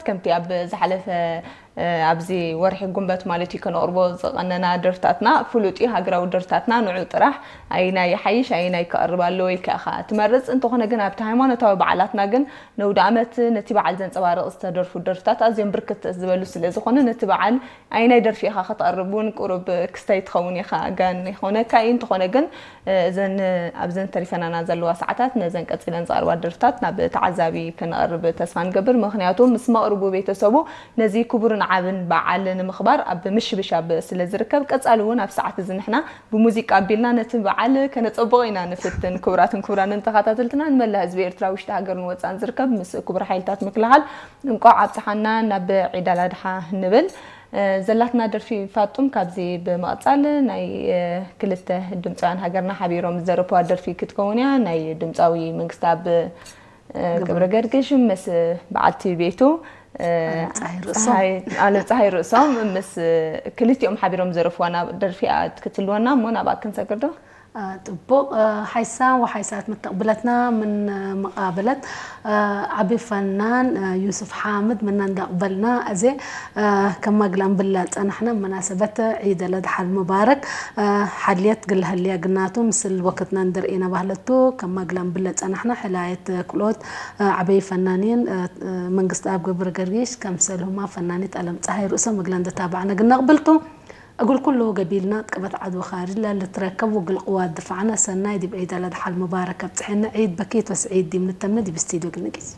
ከምቲ ኣብ ዝሓለፈ ኣብዚ ወርሒ ጉንበት ማለት እዩ ከነቕርቦ ዝቐነና ደርፍታትና ፍሉጥ እዩ። ሃገራዊ ደርፍታትና ንዑ ጥራሕ ኣይናይ ይሓይሽ ኣይናይ ክቐርብ ኣለዎ ኢልካ ኢኻ ትመርጽ። እንተኾነ ግን ኣብቲ ሃይማኖታዊ በዓላትና ግን ነውዲ ዓመት ነቲ በዓል ዘንጸባርቕ ዝተደርፉ ደርፍታት ኣዝዮም ብርክት ዝበሉ ስለ ዝኾነ ነቲ በዓል ኣይናይ ደርፊ ኢኻ ከተቕርብ እውን ቁሩብ ክስታይ ትኸውን ኢኻ ጋን ይኾነካ እዩ። እንተኾነ ግን እዘን ኣብዘን ተሪፈናና ዘለዋ ሰዓታት ነዘን ቀጺለን ዝቐርባ ደርፍታት ናብ ተዓዛቢ ክነቕርብ ተስፋ ንገብር። ምኽንያቱ ምስ መቕርቡ ቤተሰቡ ነዚ ክቡርን ዓብን በዓል ንምኽባር ኣብ ምሽብሻብ ስለ ዝርከብ ቀጻሊ እውን ኣብ ሰዓት እዚ ንሕና ብሙዚቃ ኣቢልና ነቲ በዓል ከነጸብቖ ኢና ንፍትን። ክቡራትን ክቡራንን ተኸታተልትና ንመላእ ህዝቢ ኤርትራ ውሽጢ ሃገርን ወጻእን ዝርከብ ምስ ክቡር ሓይልታት ምክልኻል እንቋዕ ኣብጽሓና ናብ ዒድ ኣላድሓ ንብል። ዘላትና ደርፊ ፋጡም ካብዚ ብምቕጻል ናይ ክልተ ድምፃውያን ሃገርና ሓቢሮም ዝደረፍዋ ደርፊ ክትከውን እያ። ናይ ድምፃዊ መንግስታኣብ ገብረ ገርግሽ ምስ በዓልቲ ቤቱ ኣለም ፀሃይ ርእሶም ምስ ክልቲኦም ሓቢሮም ዝደረፍዋ ደርፊ ክትልወና እሞ ናብኣ ክንሰግር ዶ? ጥቡቕ ሓይሳ ወሓይሳት መተቕብለትና ምን መቓበለት ዓቢ ፈናን ዩስፍ ሓምድ ምና እንዳቕበልና ኣዜ ከማግላን ብላ ጸናሕና መናሰበት ዒድ ለድሓል ሙባረክ ሓልየት ግልሃልያ ግናቱ ምስል ወክትና እንደርኤና ባህለቱ ከማግላን ብለ ጸናሕና ሕላየት ክሎት ዓበይ ፈናንየን መንግስቲ ኣብ ገብረ ገርጊሽ ከምሰልሁማ ፈናኒት ኣለም ፀሃይ ርእሶ ምግላ እንደታባዕና ግናቕብልቱ እግል ኩሉ ገቢልና ጥቀበት ዓድዊ ካርጅ ለልትረከብ ውግል ቅዋት ድፋዕና ሰናይ ዲብ ዒድ ኣልኣድሓ ልሙባረክ ኣብጽሐና ዒድ በኪት ወስዒድ ዲብ ንተምነ ዲብ ስቲድዮ ግንጊዝ።